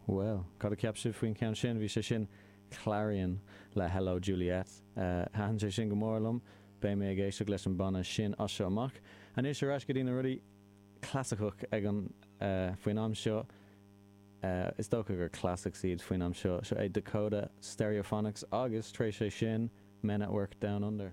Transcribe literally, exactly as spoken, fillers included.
Well, cad a cheap sibh faoin ceann sin bhí sé sin Clarion le Hello Juliet. Uh, Thaitin sé sin go mór liom, beidh mé ag éisteacht leis an banna sin as seo amach. Anois ar ais go dtí na rudaí clasaiceach ag an uh, faoin am seo uh, is dócha gur classics iad faoin am seo seo é Dakota Stereophonics agus tar éis sé sin Men at Work Down Under.